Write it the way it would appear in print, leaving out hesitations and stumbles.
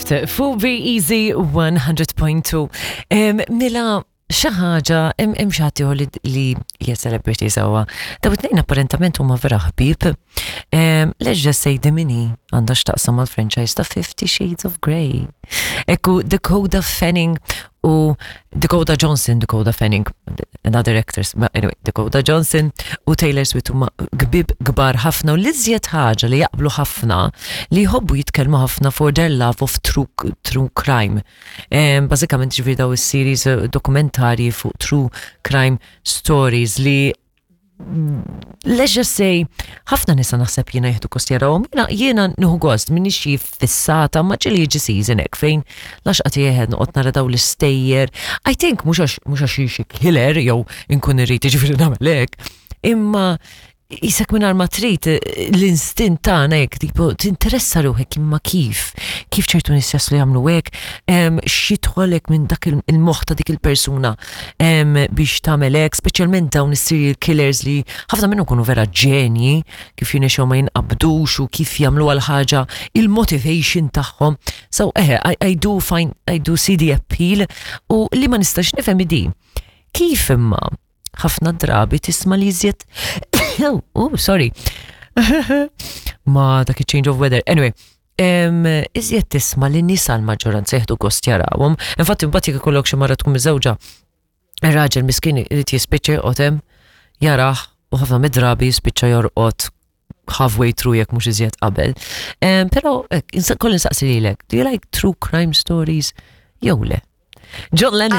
Swift fuq Be Easy 100.2. Mela xi ħaġa hemm xi ħadd ieħor li hija celebrity sewwa. Daw it-tnejn apparentament huma vera ħbieb. Let's just say the mini għandha x'taqsam mal-franchise ta' Fifty Shades of Grey. Ekku Dakota Fanning u Dakota Johnson, Dakota Fanning, another actress, but anyway, Dakota Johnson u Taylor Swift huma gbib kbar ħafna u l-iżjed ħaġa li jaqblu ħafna li jħobbu jitkellmu ħafna for their love of true, true crime. Um, Bażikament ġifieri daw is-series eh, dokumentarji fuq true crime stories li let's just say, ħafna nisa naħseb jiena jieħdu kost jarawhom, jiena jiena nieħu gost minni xi fissata ma ġieli jiġi season hekk fejn laxqa tiegħed noqgħod nara daw l-istejjer. I think mhux għax mhux għax xi killer jew inkun irrid jiġifieri nagħmel hekk, imma jisek minn ma trid l-instint tagħna hekk tipo tinteressa ruħek imma kif kif ċertu nies jaslu jagħmlu hekk, x'jidħolek minn dak il-moħħ ta' dik il-persuna biex tagħmel hekk, speċjalment dawn is-serial killers li ħafna minnhom kunu vera ġenji kif jinexew ma jinqabdux u kif jagħmlu għal ħaġa il-motivation tagħhom. So eħe, I, I do find I do see the appeal u li ma nistax nifhem di. Kif imma ħafna drabi tisma' li iżjed oh, sorry. ma dak change of weather. Anyway, iżjed tisma' li nisa l-maġġoranza jieħdu gost jarawhom. Infatti mbagħad jekk ikollok xi mara tkun miżewġa, ir-raġel miskin irid jispiċċa joqgħod hemm jarah u ħafna mid-drabi jispiċċa jorqod halfway through jekk mhux iżjed qabel. Però kolli nsaqsi lilek, do you like true crime stories jew le? John Lennon.